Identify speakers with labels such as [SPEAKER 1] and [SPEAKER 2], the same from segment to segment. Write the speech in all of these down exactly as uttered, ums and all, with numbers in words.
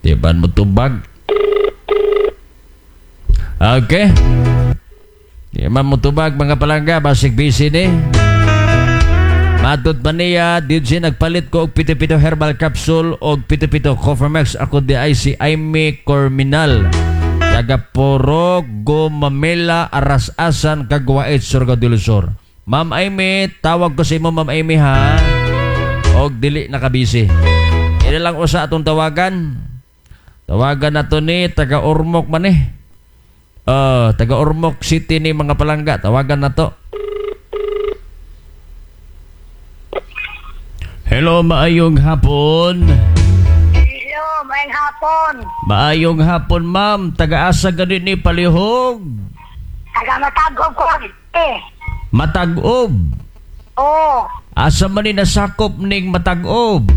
[SPEAKER 1] Di ba mo tubag? Okay. Di man mo tubag mga palangga, basig busy ni. Matod pa niya, dito siya nagpalit ko og pito-pito herbal capsule og pito-pito Cofermex. Ako di ay si Aimee Corminal. Taga Puro, Gumamela, Aras-Asan, Cagwait, Surigao del Sur. Ma'am Aimee, tawag ko sa imo Ma'am Aimee ha. Og dili nakabisi. Ila lang usa atong tawagan. Tawagan na to ni taga Ormoc man eh. Uh, taga Ormoc City ni mga palangga. Tawagan na to. Hello, maayong hapon.
[SPEAKER 2] Hello, maayong hapon.
[SPEAKER 1] Maayong hapon, ma'am. Taga-asa gani ni Palihog.
[SPEAKER 2] Taga Matag-ob ko eh.
[SPEAKER 1] Matag-ob.
[SPEAKER 2] Oo.
[SPEAKER 1] Asa man ni nasakop ning Matag-ob?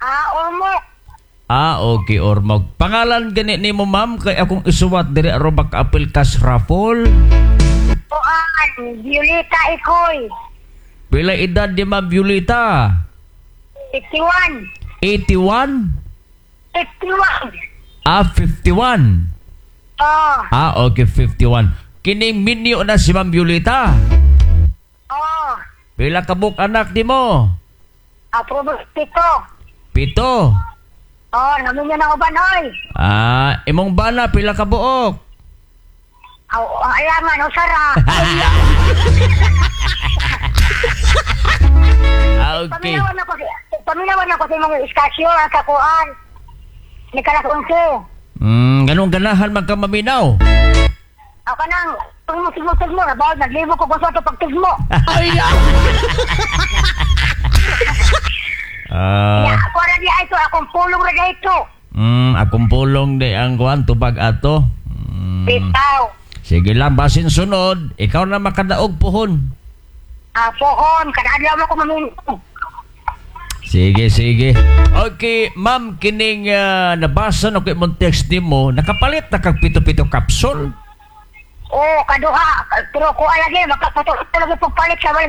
[SPEAKER 2] Ah, Ormoc.
[SPEAKER 1] Ah, okay, Ormoc. Pangalan gani nimo, ma'am, kay akong isuwat diri aron makaapil kas raffle.
[SPEAKER 2] Kuan, Violeta Ikoy.
[SPEAKER 1] Pila edad ni Ma'am Violeta?
[SPEAKER 2] fifty-one.
[SPEAKER 1] eighty-one?
[SPEAKER 2] fifty-one.
[SPEAKER 1] Ah, fifty-one.
[SPEAKER 2] Oo.
[SPEAKER 1] Ah, okay, fifty-one. Kining minyo na si Ma'am Violeta.
[SPEAKER 2] Oo.
[SPEAKER 1] Pila ka buok anak di mo?
[SPEAKER 2] Ah, pito.
[SPEAKER 1] Pito.
[SPEAKER 2] Oo, namin niya na uban, oy.
[SPEAKER 1] Ah, imong bana pila ka buok?
[SPEAKER 2] Aw, ang ayangan, usara.
[SPEAKER 1] Ah, okay.
[SPEAKER 2] Paminawan ako, paminawan ako sa imong iskasyo ang kakuan. Ni kalas onse.
[SPEAKER 1] Mm, ganun ganahan man ka maminaw.
[SPEAKER 2] Ako nang, kung mo tigmo-tigmo, nabaw, naglibo ko kung sa ito pagtigmo.
[SPEAKER 1] Ay! Ah,
[SPEAKER 2] Ya, ako ra di ito, akong pulong ra di ito.
[SPEAKER 1] mm, akong pulong di ang kuan tubag ato. Mm.
[SPEAKER 2] Bitaw.
[SPEAKER 1] Sige lang, basin sunod, ikaw na makadaog pohon.
[SPEAKER 2] Ah, pohon, kada adlaw mo ko maminaw.
[SPEAKER 1] Sige, sige. Okay, ma'am, kining uh, nabasa na ko imong text nimo, nakapalit na kag pito-pito capsule.
[SPEAKER 2] Oo, kaduha. Pero kuha lagi, makapatuloy lagi pagpalit sa wala.